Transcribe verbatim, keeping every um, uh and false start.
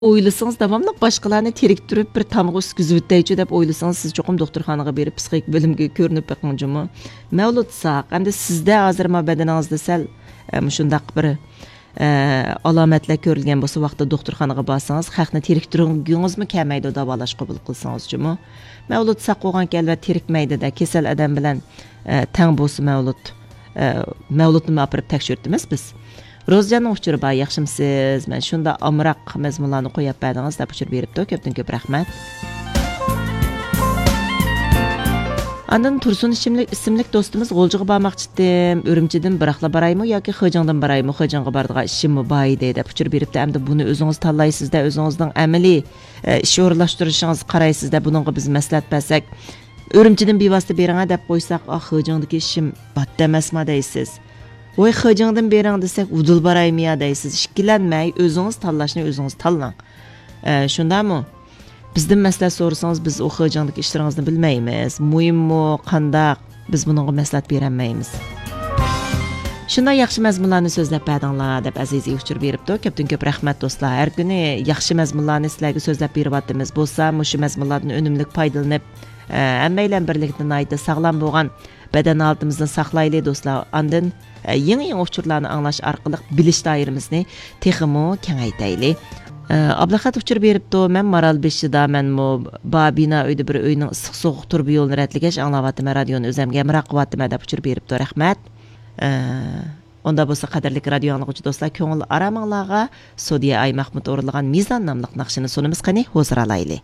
ئويلىسىڭىز، داۋاملىق باشقىلارنى تېرىكتۈرۈپ، بىر تامغا ئۈسكۈزۈۋېتەيچۇ دەپ ئويلىسىڭىز، سىز چوقۇم دوختۇرخانىغا بېرىپ، پسىخىك بۆلۈمگە كۆرۈنۈپ بېقىڭ جۇمۇ. مەۋلۇت ساق، ئەمدى سىزدە ھازىر ما بەدىنىڭىزدە سەل، ئە، مۇشۇنداق بىر، ئە، ئالامەتلەر كۆرۈلگەن بولسا، ۋاقتىدا دوختۇرخانىغا بارسىڭىز، خەقنى تېرىكتۈرگۈڭىزمۇ كەلمەيدۇ، داۋالاش قوبۇل قىلسىڭىز جۇمۇ. مەۋلۇت ساق بولغانكەن، ئەلۋەتتە تېرىكمەيدۇ-دە، كېسەل ئادەم بىلەن، ئە، تەڭ بولسا مەۋلۇت. ئە، مەۋلۇتنىمۇ ئاپىرىپ تەكشۈرتىمىز بىز. روزىجاننىڭ ئۇچۇرى بار، ياخشىمسىز؟ مەن شۇنداق ئامراق مەزمۇنلارنى قويۇپ بەردىڭىز، دەپ ئۇچۇر بېرىپتۇ. كۆپتىن كۆپ رەھمەت. ئاندىن تۇرسۇن ئىسىملىك، ئىسىملىك دوستىمىز، غۇلجىغا بارماقچىدىم، ئۈرۈمچىدىن بىراقلا بارايمۇ ياكى خېجىڭدىن بارايمۇ؟ خېجىڭغا بارىدىغان ئىشىممۇ بار ئىدى، دەپ ئۇچۇر بېرىپتۇ. ئەمدى بۇنى ئۆزىڭىز تاللايسىز-دە، ئۆزىڭىزنىڭ ئەمەلىي، ئە، ئىش ئورۇنلاشتۇرۇشىڭىزغا قارايسىز-دە، بۇنىڭغا بىز مەسلىھەت بەرسەك، ئۈرۈمچىدىن بىۋاسىتە بېرىڭە دەپ قويساق، ئا، خېجىڭدىكى ئىشىم باتتى ئەمەسما دەيسىز. ۋاي، خېجىڭدىن بېرىڭ دېسەك، ۋۇدۇل بارايمۇ يا دەيسىز. ئىككىلەنمەي، ئۆزىڭىز تاللاشنى ئۆزىڭىز تاللاڭ. ئە، شۇنداقمۇ؟ بىزدىن مەسلىھەت سورىسىڭىز، بىز ئۇ خېجىڭدىكى ئىشلىرىڭىزنى بىلمەيمىز. مۇھىممۇ، قانداق؟ بىز بۇنىڭغا مەسلىھەت بېرەلمەيمىز. شۇنداق ياخشى مەزمۇنلارنى سۆزلەپ بەردىڭلار، دەپ ئەزىزى ئۇچۇر بېرىپتۇ. كۆپتىن كۆپ رەھمەت، دوستلار. ھەر كۈنى ياخشى مەزمۇنلارنى سىلەرگە سۆزلەپ بېرىۋاتىمىز. بولسا، مۇشۇ مەزمۇنلاردىن ئۈنۈملۈك پايدىلىنىپ، ئە، ھەممەيلەن بىرلىكتە ناھايىتى ساغلام بولغان بەدەن ھالىتىمىزنى ساقلايلى، دوستلار. ئاندىن، ئە، يېڭى-يېڭى ئۇچۇرلارنى ئاڭلاش ئارقىلىق بىلىش دائىرىمىزنى تېخىمۇ كېڭەيتەيلى. ئە، ئابلىخەت ئۇچۇر بېرىپتۇ. مەن مارالبېشىدا، مەنمۇ بار بىنا ئۆيدە بىر ئۆينىڭ ئىسسىق سوغۇق تۇرۇبا يولىنى رەتلىگەچ ئاڭلاۋاتىمەن، رادىيونى ئۆزەمگە ھەمراھ قىلىۋاتىمەن، دەپ ئۇچۇر بېرىپتۇ. رەھمەت. ئە، ئۇندا بولسا، قەدىرلىك رادىيو ئاڭلىغۇچى دوستلار، كۆڭۈل ئارامىڭلارغا سودىيە ئاي مەخمۇت ئورۇنلىغان مىزان ناملىق ناخشىنى سۇنىمىز، قېنى، ھۇزۇر ئالايلى.